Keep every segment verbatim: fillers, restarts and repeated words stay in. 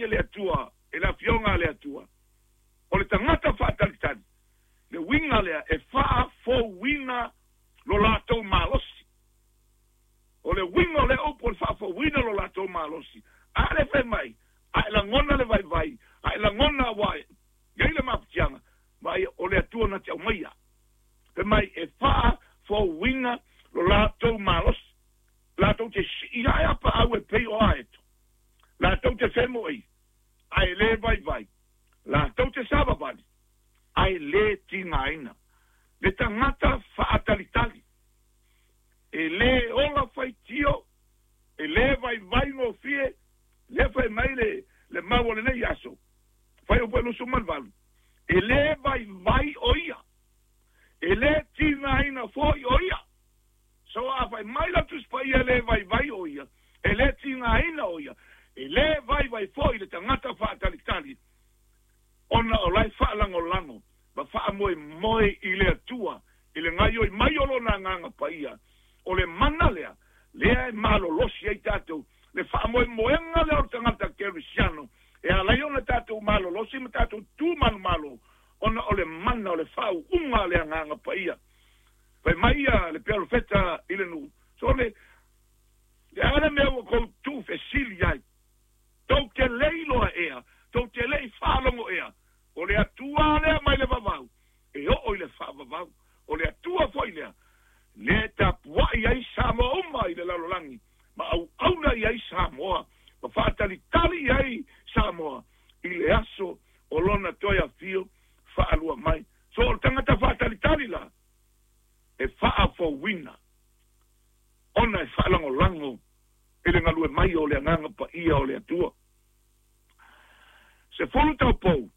e le Atua, e le afioga a le Atua. O le tagata faatalitali, le uiga lea e faafouina lo latou malosi. O le uiga o le upu o le faafouina lo latou malosi. A le fai mai, a e lagona le vaivai, a e lagona ua iai le mafatiaga, vaai o le Atua na te aumaia. Fai mai e faafouina lo latou malosi. Latou te sii ae a paau e pei o aeto. Latou te femoei, ae le vaivai. Latou te savavali, ae le tigaina. Le tagata faatalitali, e le ola faitio, e le vaivai gofie, le fai mai le, le mau o lenei aso, fai o lusu ma le valu, e le vaivai o ia, e le tigaina foi o ia. So a fai mai la Tusi Paia le vaivai o ia, e le tigaina o ia, e le vaivai foi le tagata faatalitali, ona o lai faalagolago ma faamoemoe i le Atua, i le gaoioi mai o lona Agaga Paia. O le mana lea, lea e malolosi ai tatou, le faamoemoega lea o le tagata kerisiano, e ala ai ona tatou malolosi ma tatou tumanumalo, ona o le mana o le faauuga a le Agaga Paia. Fai mai ia le perofeta i le nuu, so le, le a le mea ua kou tuufesili ai, tou te le iloa ea, tou te le i faalogo ea, o le Atua lea mai le vavau, e oo i le faavavau. O le Atua foi lea, le tapuai ai Samoa uma i le lalolagi, ma auauna i ai Samoa, ma faatalitali i ai Samoa, i le aso o lona toe afio faalua mai. So o le tagata faatalitali la, e faafouina, ona e faalagolago i le galue mai o le Agaga Paia o le Atua. Se fulu taupou,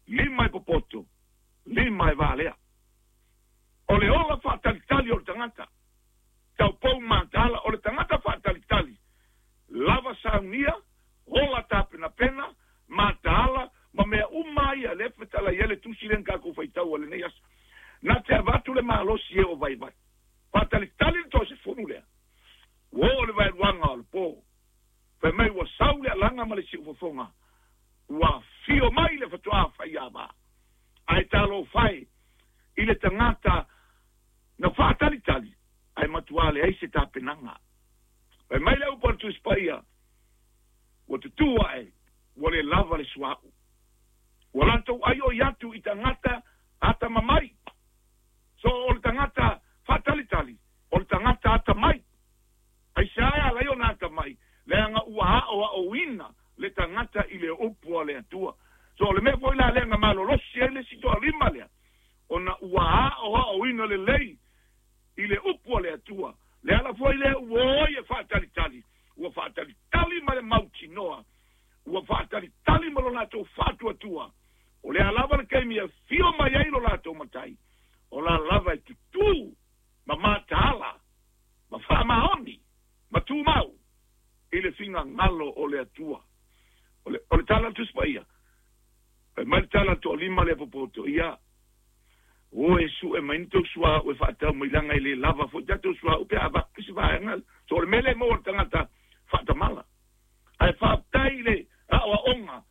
lima e popoto, lima e valea. O le ola faatalitali o le tagata, taupou mataala, o le tagata faatalitali, lava saunia, ola tapenapena, mataala, ma mea uma ia, le fetala ia le tusi le kākou faitau o lenei aso. Na te avatu le malosi e o vaivai. Faatalitali le toa sefulu lea. Ua oo le vaeluaga o le po. Fai mai ua sau le alaga ma le siufofoga. Ua fio mai le fatoā faiava. Ae talofa e i le tagata na faatalitali, ae matuā leai se tapenaga. Fai mai le upu a le Tusi Paia, ua tutū ae, ua le lava le suauu. Ua latou aioi atu i tagata atamamai. So o le tagata faatalitali, o le tagata atamai. Aisea e ala ai ona atamai, leaga ua aoaoina le tagata i le upu a le Atua. So o le mea foi la lea na malolosi ai le isi toalima lea, ona ua aoaoina lelei i le upu a le Atua. Le ala foi lea ua o ai e faatalitali, ua faatalitali ma le mautinoa, ua faatalitali ma lo latou faatuatua. O le a lava le taimi e fio mai ai lo latou matai, o la lava e tutū ma mataala, ma faamaoni, ma tumau i le finagalo o le Atua. O le, o le tala a le Tusi Paia, fai mai le tala a le toalima lea popoto, ia, o e sue mai ni tou suauu e faatau mai leaga e le lava foi tatou suauu pe a avatu se vaega. So o le mea lea e maua le tagata faatamala. Ae faafetai i le aoaoga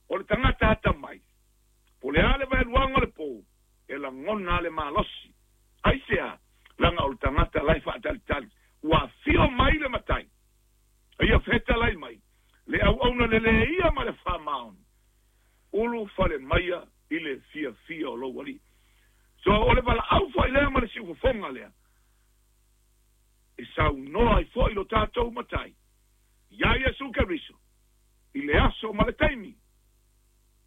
o le tagata atamai. Po o le a le vaeluaga o le po, e lagona le malosi. Aisea, leaga o le tagata la e faatalitali. Ua afio mai le matai, a ia fetalai mai, le auauna lelei ia ma le faamaoni, ulu fale maia i le fiafia o lou alii. So o le valaau foi lea ma le siufofoga lea, e saunoa ai foi lo tatou matai, ia Iesu Keriso, i le aso ma le taimi,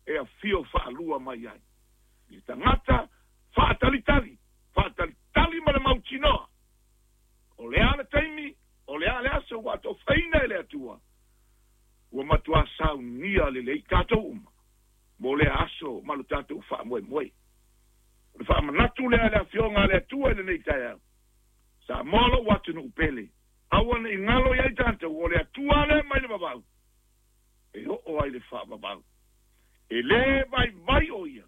e afio faalua mai ai. I le tagata faatalitali, faatalitali ma le mautinoa. O le a le taimi, o le a le aso ua atofaina e le Atua, ua matuā saunia lelei tatou uma, mo lea aso ma lo tatou faamoemoe. O le faamanatu lea a le afioga a le Atua i lenei taeao, Samoa lou atunuu pele, aua ne i galo i ai tatou, o le Atua lea mai le vavau, e oo ai le faavavau. E le vaivai o ia,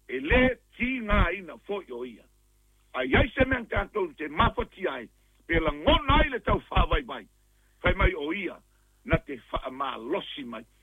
e le tigaina foi o ia. A i ai se mea na tatou te mafatia ai, pe lagona ai le tau faavaivai, fai mai o ia na te faamalosi mai.